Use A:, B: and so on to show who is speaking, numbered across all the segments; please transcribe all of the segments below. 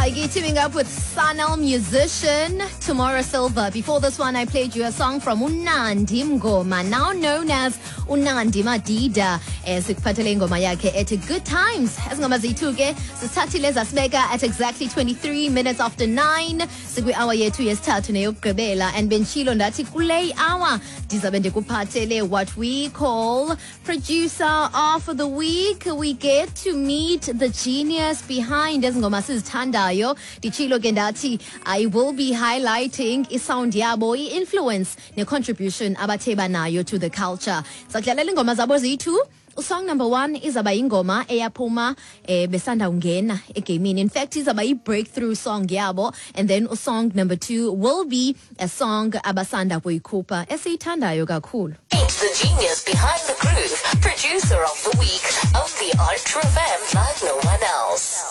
A: Saiki teaming up with Sanel musician Tomorrow Silver. Before this one, I played you a song from Unandi Mngoma, now known as Unandi Madida. Sikuphathele ingoma yakhe ethi Good Times. Ezi ngoma ziyi-two ke sisithathile zasibeka at exactly 23 minutes after 9, sikwi-hour yethu yesithathu neyokugqibela, and benditshilo ndathi kule hour ndizabe ndikuphathele what we call Producer of the Week. We get to meet the genius behind ezi ngoma sizithandayo. Nditshilo ke ndathi I will be highlighting isound yabo, i-influence ne-contribution abathe banayo to the culture. Sakudlalela ingoma zabo ziyi-two. Usong number one izaba ingoma eyaphuma besanda ungena egamini. In fact, izaba i-breakthrough song yabo. And then usong number two will be a song abasanda kuyikhupha esiyithandayo kakhulu.
B: Meet the genius behind the groove, Producer of the Week, only on True FM like no one else.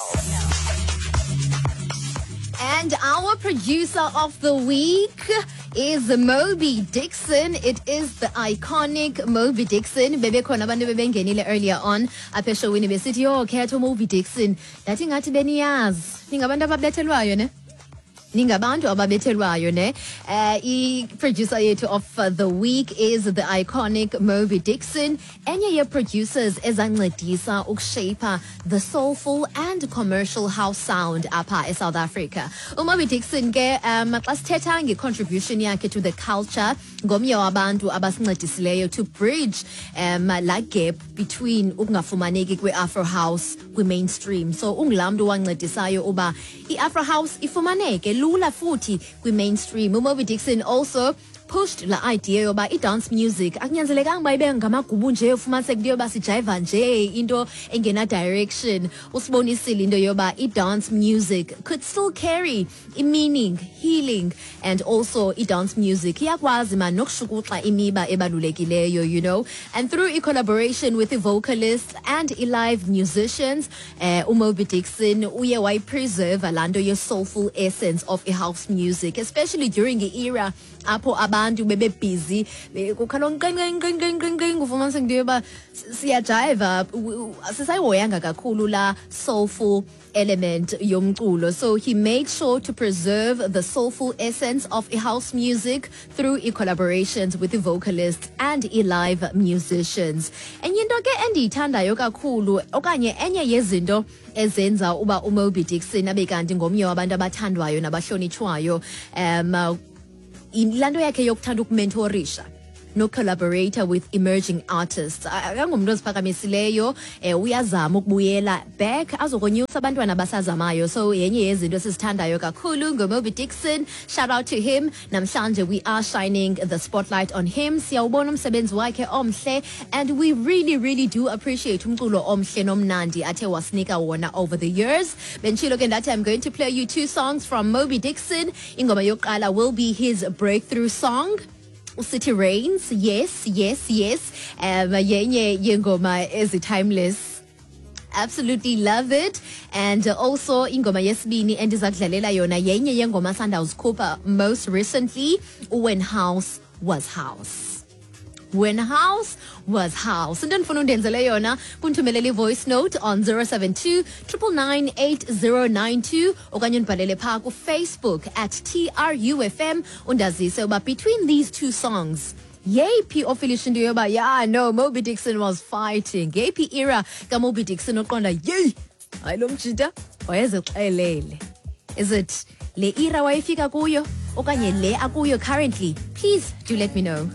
A: And our Producer of the Week is Mobi Dixon. It is the iconic Mobi Dixon. Bebekhona abantu bebengenile earlier on apha eshowini besithi, "Yho, khetha uMobi Dixon." Ndathi ngathi beniyazi. Ningabantu ababethelwayo, ne? Ningabantu ababethelwayo, ne? I-producer yethu of the week is the iconic Mobi Dixon, enye ye-producers ezancedisa ukushape the soulful and commercial house sound apha eSouth Africa. UMobi Dixon ke, xa sithetha nge-contribution yakhe to the culture, ngomnye wabantu abasincedisileyo to bridge la gap between ukungafumaneki kwe-Afro house kwi-mainstream. So ungulaa mntu wancedisayo uba i-Afro house ifumaneke lula futhi kwi-mainstream. UMobi Dixon also pushed la idea yoba i-dance music akunyanzelekanga uba ibe ngamagubu nje, ufumaniseke into yoba sijayiva nje into engena-direction. Usibonisile into yoba i-dance music could still carry i-meaning, healing, and also i-dance music iyakwazi man nokushukuxa imiba ebalulekileyo. And through i-collaboration with i-vocalists and i-live musicians, uMobi Dixon uye wayipreserve laa nto ye-soulful essence of i-house music, especially during i-era apho abantu bebebhizi kukhala nqinqinqinqinqinqing, ufumaniseke into yoba siyajayiva, asisayihoyanga kakhulu la soulful element yomculo. So he made sure to preserve the soulful essence of house music through i-collaborations with the vocalists and i-live musicians. Enye into ke endiyithandayo kakhulu, okanye enye yezinto ezenza uba uMobi Dixon abe kanti ngomnye wabantu abathandwayo nabahlonitshwayo, laa nto yakhe yokuthanda ukumentorisha no-collaborate with emerging artists. Akangumntu oziphakamisileyo, uyazama ukubuyela back azokonyusa abantwana abasazamayo. So yenye yezinto esizithandayo kakhulu ngoMobi Dixon. Shout out to him. Namhlanje we are shining the spotlight on him. Siyawubona umsebenzi wakhe omhle, and we really, really do appreciate umculo omhle nomnandi athe wasinika wona over the years. Benditshilo ke ndathi I'm going to play you two songs from Mobi Dixon. Ingoma yokuqala will be his breakthrough song, City Rains. Yes. Yenye yengoma ezi-timeless, absolutely love it. And also ingoma yesibini endiza kudlalela yona yenye yengoma sandawuzikhupha most recently, When House Was House. When House Was House. Into endifuna undenzele yona kundithumelela i-voice note on 072 999 8092, okanye undibhalele phaa kuFacebook @TRUFM, undazise uba between these two songs yeyiphi ofilisha into yoba, yeah, no, Mobi Dixon was fighting. Ngeyiphi era kaMobi Dixon oqonda, yeyi, hayi, lo mjita wayezixelele? Is it le era wayefika kuyo okanye le akuyo currently? Please do let me know.